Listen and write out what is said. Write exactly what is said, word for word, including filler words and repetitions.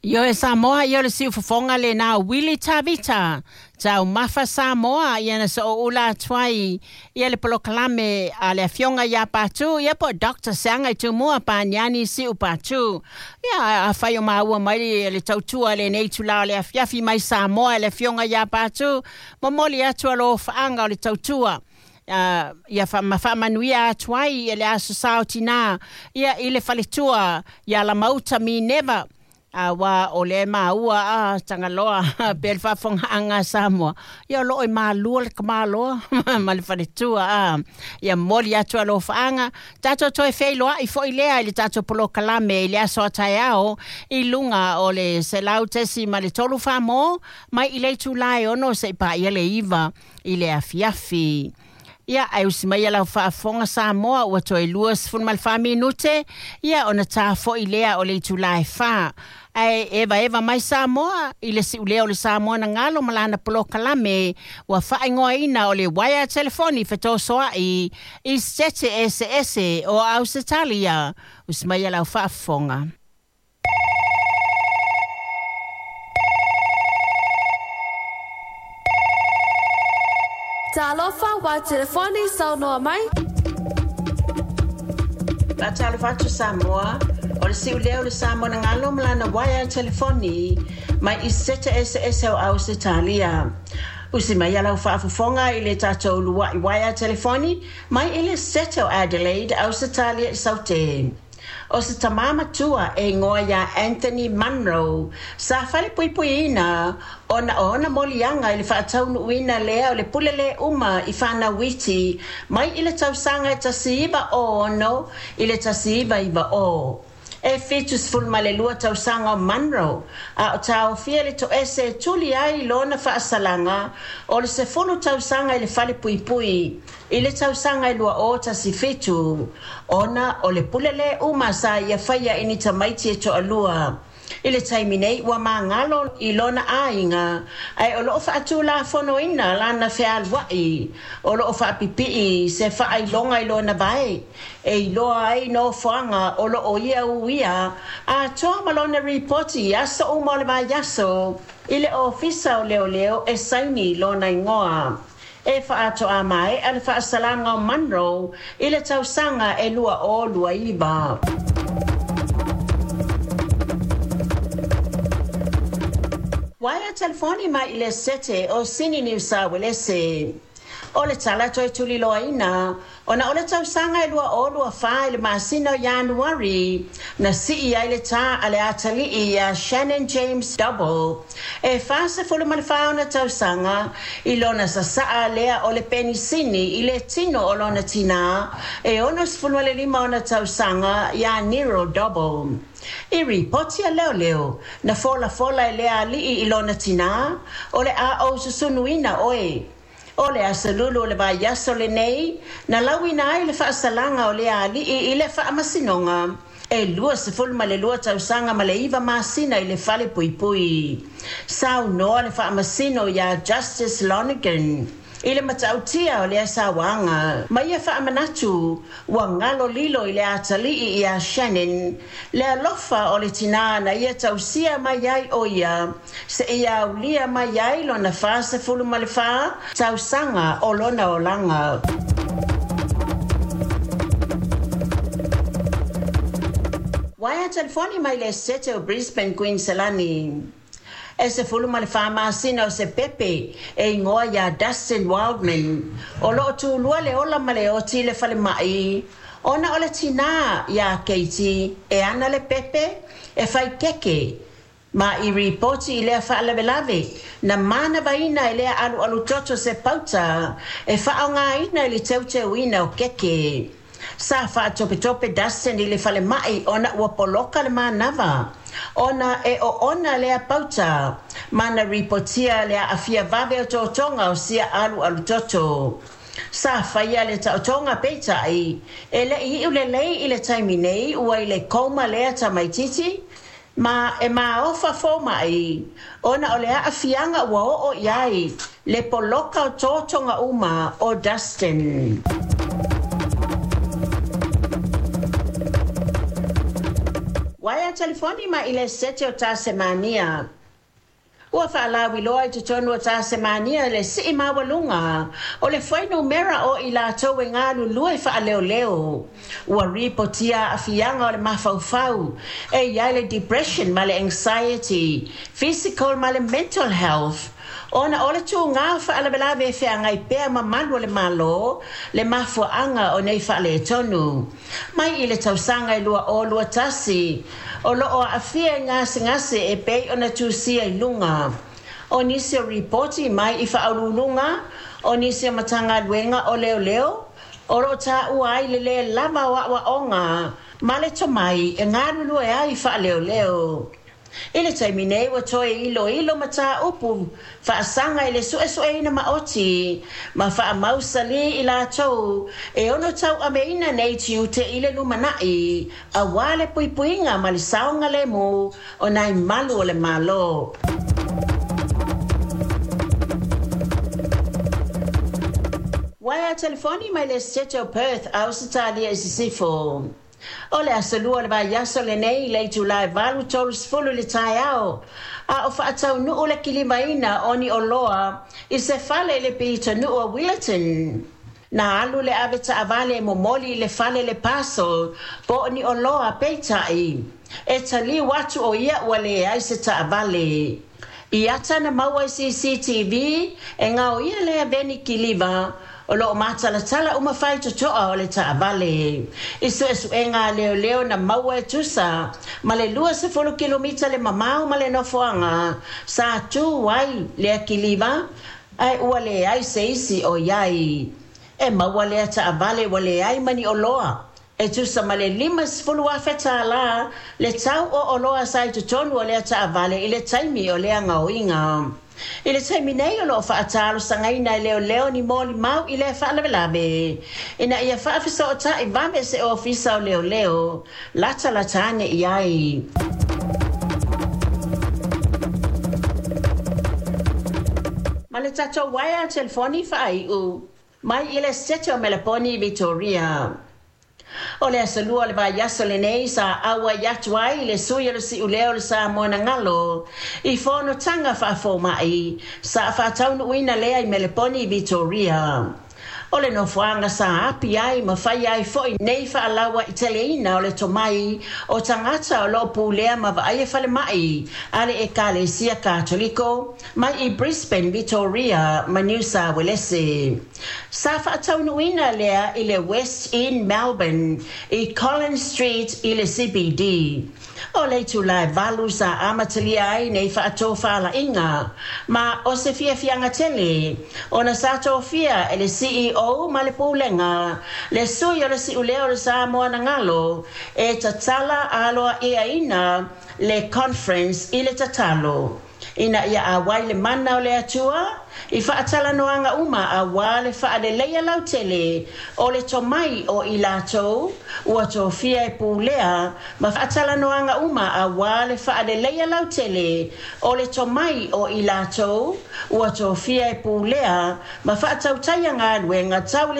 Ioe Samoa, ia o le siufofoga lenā Willy Tavita taumafa Samoa ia na so'oula atu ai ia le polokalame a le afioga iā Patu ia po Doctor Seaga i Tumua Paniani Si'u Patu. Ia afai o maua mai le tautua lenei itulā o le afiafi mai Samoa e le afioga iā Patu, momoli atu alofaaga o le tautua Uh, ia fa, ma faamanuia atu ai e le aso sa o tinā ia i le faletua ia Lamauta Mineva auā o le maua a Tagaloa pe le faafogaaga a Samoa ia o loo i malua le kamāloa ma le faletua a ia moli atu alofaaga tatou toe feiloa'i fo'i lea i le tatou polokalame i le aso a taeao i luga o le selau tesi ma le tolu fāmō mai i le itulā e ono se'i paia le iva i le afiafi. Ia ae usi mai lau faafofoga Samoa ua toe lua sefulu ma le fa minute ia ona tafo'i lea o le itulā e fā. Ae evaeva mai Samoa i le si'ulea o le Samoa na galo ma lana polokalame ua faaigoaina o le uaea telefoni fetosoa'i i sete eseese o Ausetalia. Usi mai lau faafofoga. Talofa wa telefoni saunoa mai. Faatalofa atu Samoa, o le si'ulea o le Samoa na galo ma lana uaea telefoni mai i sete eseese o Ausetalia. Usi mai lau faafofoga i le tatou lua'i uaea telefoni mai i le sete o Adelaide, Ausetalia i Saute. O se tamā matua e igoa iā Anthony Munro sa falepuipuiina ona o ona moliaga i le faataunuuina lea o le pule lē uma i fanauiti mai i le tausaga e tasi iva o ono i le tasi iva iva o. E fitu sefulu ma le lua tausaga o Munro a o taofia le toese e tuli ai lona faasalaga o le sefulu tausaga i le falepuipui i le tausaga e lua o tasi fitu ona o le pule lē uma sa ia faia i ni tamaiti e toalua. I le taimi nei ua magalo i lona aiga ae o loo faatulafonoina lana fealua'i o loo faapipi'i se faailoga i lona vae e iloa ai nofoaga o loo ia uia atoa ma lona ripoti i aso uma o le vaiaso i le ofisa o leoleo e saini lona igoa. E faatoa mae'a le faasalaga o Munro i le tausaga e lua o lua iva. Uaea telefoni mai i le sete o Sini Niu Sauelese. O le tala toe tuliloaina ona o le tausaga e lua o lua fā i le masina o Ianuari na si'i ai le tā a le atalii iā Shannon James Double e fasefulu ma le fā ona tausaga i lona sasa'a lea o le penisini i le tino o lona tinā e ono sefulu ma le lima ona tausaga iā Nero Double. I ripoti a leoleo na folafola e lea ali'i i lona tinā o le a ou susunuina oe. O le aso lulu o le vaiaso lenei na lauina ai le faasalaga o lea ali'i i le faamasinoga e lua sefulu ma le lua tausaga ma le iva masina i le fale puipui. Saunoa le faamasino iā Justice Lonergan i le matautia o lea sauaga ma ia faamanatu ua galo lilo i le atalii iā Shannon le alofa o le tinā na ia tausia mai ai o ia seia aulia mai ai lona fasefulu ma le fā tausaga o lona olaga. Uaea telefoni mai le sete o Brisbane, Queensland. E sefulu ma le fā masina o se pepe e igoa iā Dustin Wildman o loo tulua le ola ma le oti i le falema'i ona o le tinā iā Katie e ana le pepe e fai keke ma i ripoti i lea faalavelave na manavaina e lea alualu toto se pauta e faaaogāina i le teuteuina o keke. Sa faatopetope Dustin i le falema'i ona ua poloka le manava ona e oona lea pauta ma na ripotia le aafia vave o totoga o sia alualu toto. Sa faia le taotoga peita'i e le'i i'u lelei i le taimi nei ua i le koma lea tamaititi ma e maofa foma'i ona o le aafiaga ua oo i ai le poloka o totoga uma o Dustin. Waea telefoni mai i le sete o Tasemania. Ua faalauiloa i totonu o Tasemania le sii maualuga o le fuainumera o i latou e galulue faaleoleo. Ua ripotia aafiaga o le mafaufau e i ai le depression ma le anxiety, physical ma le mental health. Ona o le tugā o faalavelave e feagai pea ma malu o le Malo le mafuaaga o nei faaletonu. Mai i le tausaga e lua o lua tasi, o loo aafia i gasegase e pei ona tusia i luga. O nisi o ripoti mai i faauluuluga, o nisi o Matagaluega o Leoleo, o loo taua ai le lē lava o aoaoga ma le tomai e galulue ai faaleoleo. I le taimi nei ua toe iloilo mataupu faasaga i le suesueina maoti ma faamausalī i latou e ono tauaveina nei tiute i le lumanai auā le puipuiga ma le saogalemu o nai malu o le Malo. Waea telefoni mai le Setete o Perth, Ausetalia i Sisifo. O le aso lua o le vaiaso lenei i le itulā e valu tolusefulu i le taeao, a o faataunuu le kilivaina o ni oloa i se fale i le pitonuu o Willetton. Na alu le ave taavale e momoli i le fale le parcel po o ni oloa peitai. E taliu atu o ia ua leai se taavale. I ata na maua i C C T V e gaoia lea veni kiliva o loo matalatala uma faitotoa o le taavale. I suesuega a leoleo na maua e tusa ma le luasefulu kilomita le mamao ma le nofoaga sa tu ai lea kiliva ae ua leai se isi o i ai. E maua lea taavale ua leai ma ni oloa. E tusa ma le limasefulu afe tālā le tau o oloa sa i totonu o lea taavale i le taimi o lea gaoiga. I le taimi nei o loo faatalosagaina e leoleo ni molimau i lea faalavelave ina ia faafesootai vave se ofisa o leoleo latalata ane i ai. Ma le tatou waea telefoni faaiu mai i le Sete o Meleponi, Victoria. O le aso lua o le vaiaso lenei sa auai atu ai le sui o le siuleo o le Samoa na galo i fonotaga faafomaʻi sa faataunuuina lea i Meleponi, Victoria. O le nofoaga sa api ai ma fai ai foi nei faalauaiteleina o le tomai o tagata o loo pulea ma vaaia falemaʻi a le Ekalesia Katoliko mai i Brisbane, Victoria ma New South Wales. Sa faataunuuina lea i le West End Melbourne i Collins Street i le C B D. O le itulā e valu sa amatalia ai nei faatofalaiga ma o se fiafiaga tele ona sa tofia e le C E O ma le pulega le sui o le siuleo o le Samoa na galo e tatala aloaʻiaina le conference i le tatalo ina ia auai le mana o le Atua i faatalanoaga uma auā le faaleleia lautele o le tomai o i latou ua tofia e pulea ma faatalanoaga uma auā le faaleleia lautele o le tomai o i latou ua tofia e pulea ma faatautaia galuega tau.